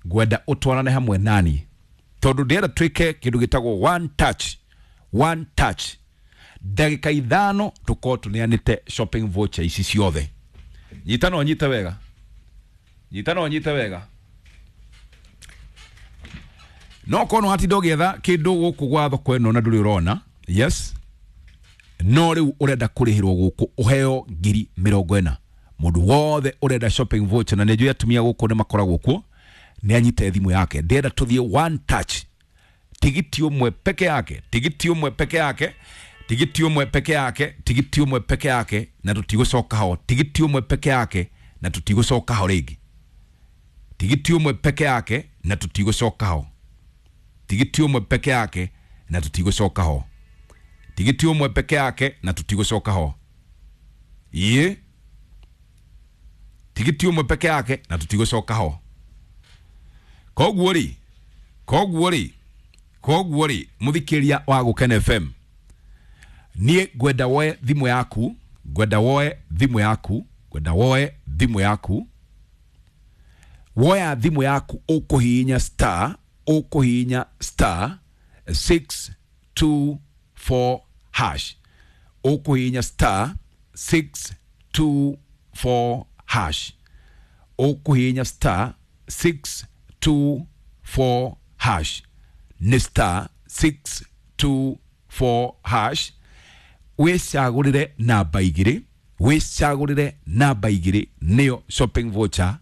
Ngwenda ũtwarane hamwe nani tondũ ndĩrenda twĩke kĩndũ gĩtagwo one touch, one touch. Ndagĩka 5 tũkorwo tũneanĩte shopping voucher ici ciothe. Nyita na ũnyite wega, nyita na ũnyite wega. No korwo nĩ watinda ũgĩetha kĩndũ gũkũ gwa thoko ĩno na ndũrĩ ũrona, yes, no rĩu ũrenda kũrĩhĩrwo gũkũ ũheo 40,000. Mũndũ wothe ũrenda shopping voucher, na nĩ njũĩ atumia gũkũ nĩ makoragwo kuo, nĩ anyite thimũ yake. Ndĩrenda tũthiĩ one touch, tigiti ũmwe peke yake, tigiti ũmwe peke yake, tigiti ũmwe peke yake, tigiti ũmwe peke yake, na tũtigũcoka ho. Tigiti ũmwe peke yake na tũtigũcoka ho rĩngĩ. Tigiti ũmwe peke yake na tũtigũcoka ho. Tigiti ũmwe peke yake na tũtigũcoka ho. Tigiti ũmwe peke yake na tũtigũcoka ho. Ĩĩ, tigiti ũmwe peke yake na tũtigũcoka ho. Koguo rĩ, koguo rĩ, koguo rĩ, mũthikĩria wa Gũkena FM, niĩ ngwenda woe thimũ yaku, ngwenda woe thimũ yaku, ngwenda woe thimũ yaku. Woya thimũ yaku ũkũhihinya star, ũkũhihinya star 624 hash, ũkũhihinya star 624 hash, ũkũhihinya star 624 hash, nĩ star 624 hash. Wĩcagũrĩre namba 2, wĩcagũrĩre namba 2 nĩyo shopping voucher,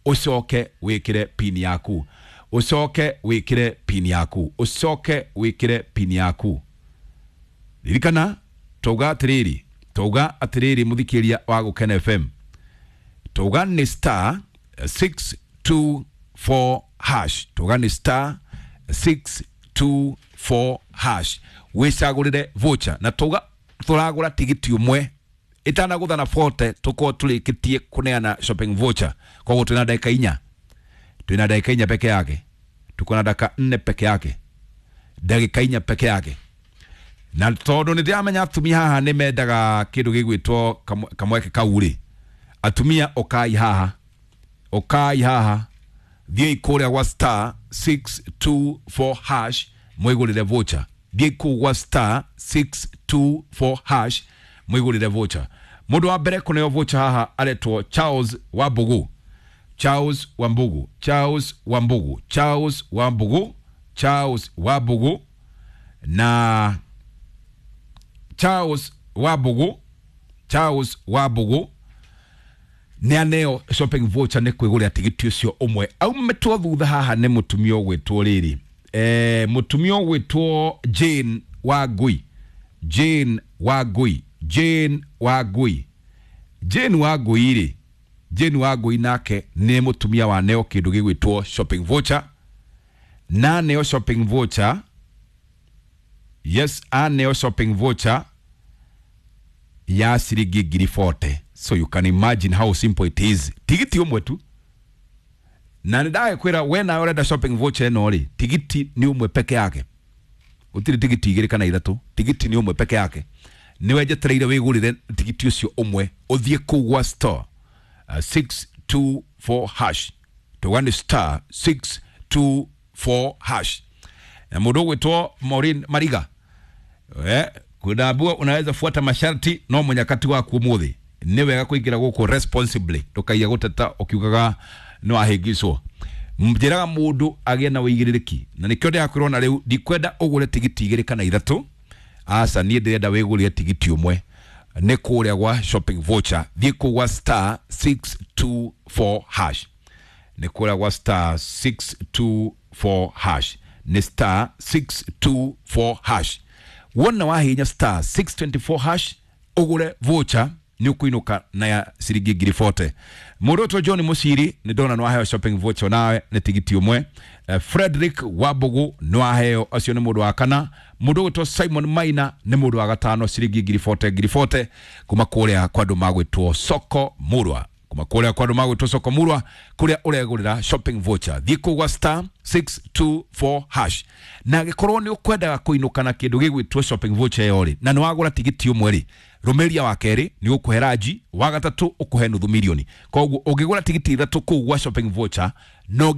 ũcoke wĩkĩre pin yaku, ũcoke wĩkĩre pin yaku, ũcoke wĩkĩre pin yaku. Ririkana twauga atĩrĩrĩ, twauga atĩrĩrĩ mũthikĩria wa Gũkena FM, twauga nĩ star 624 hash, twauga nĩ star 624 hash, wĩcagũrĩre voucher. Na twauga tũragũra tigiti ũmwe ĩtanagũtha na 40 tũkorwo tũrĩkĩtie kũneana shopping voucher. Koguo twĩna ndagĩka 4, twĩna ndagĩka 4 peke yake, tuko na dakika 4 peke yake, ndagĩka 4 peke yake. Na tondũ nĩ ndĩramenya atumia haha nĩ mendaga kĩndũ gĩgwĩtwo kamweke kau rĩ, atumia ũkai haha, ũkai haha, thiĩi kũrĩa gwa star 624 hash mwĩgũrĩre voucher. Thiĩi kũu gwa star 624 hash mwĩgũrĩre voucher. Mũndũ wa mbere kũneo voucher haha aretwo Charles Wambugu, Charles Wambugu, Charles Wambugu, Charles Wambugu, Charles Wambugu. Na Charles Wambugu, Charles Wambugu nĩ aneo shopping voucher nĩ kwĩgũrĩra tigiti ũcio ũmwe. Aumĩtwo thutha haha nĩ mũtumia ũgwĩtwo rĩrĩ, mũtumia ũgwĩtwo Jane Wangui, Jane Wangui, Jane Wangui, Jane Wangui rĩ, Jane Wangui nake nĩ mũtumia waneo kĩndũ gĩgwĩtwo shopping voucher, na aneo shopping voucher, yes, aneo shopping voucher ya ciringi 40,000. So you can imagine how simple it is. Tigiti ũmwe tu. Na nĩ ndagĩkwĩra we nawe ũrenda shopping voucher ĩno rĩ, tigiti nĩ ũmwe peke yake, gũtirĩ tigiti 2 kana 3, tigiti nĩ ũmwe peke yake. Nĩwe njetereire wĩgũrĩre tigiti ũcio ũmwe, ũthiĩ kũu gwa store 624 hash, tuga nĩ star 624 hash. Na mũndũ ũgwĩtwo Maureen Mariga, kwĩna unaweza fuata masharti no mũnyakati waku ũmũthĩ nĩ wega kũingĩra gũkũ responsibly, ndũkaiya gũteta ũkiugaga nĩ wahĩngĩcwo. Njĩraga mũndũ agĩe na ũigĩrĩrĩki, na nĩkĩo ndĩrakwĩra ona rĩu ndikwenda ũgũre tigiti 2 kana 3, aca, niĩ ndĩrenda wĩgũrĩre tigiti ũmwe nĩ kũrĩa gwa shopping voucher. Thiĩ kũu gwa star 624 hash, nĩ kũrĩa gwa star 624 hash, nĩ star 624 hash. Wona wahihinya star 624 hash ũgũre voucher nĩ ũkũinũka na ya ciringi 40,000. Mũndũ ũtwo John Mũciri nĩ ndona nĩ waheo shopping voucher nawe nĩ tigiti ũmwe. Frederick Wambugu nĩ waheo, acio nĩ mũndũ wa kana. Mũndũ ũgwĩtwo Simon Maina nĩ mũndũ wa gatano, ciringi 40,000 40,000 kuma kũrĩa kwa andũ magwĩtwo Soko Murwa, kuma kũrĩa kwa andũ magwĩtwo Soko Murwa kũrĩa ũregũrĩra shopping voucher. Thiĩ kũu gwa star 624 hash, na angĩkorwo nĩ ũkwendaga kũinũka na kĩndũ gĩgwĩtwo shopping voucher ĩyo rĩ, na nĩ wagũra tigiti ũmwe rĩ, rũmĩria wa kerĩ nĩ ũkũhe ranji, wa gatatũ ũkũhe nuthu milioni. Koguo ũngĩgũra tigiti 3 kũu gwa shopping voucher no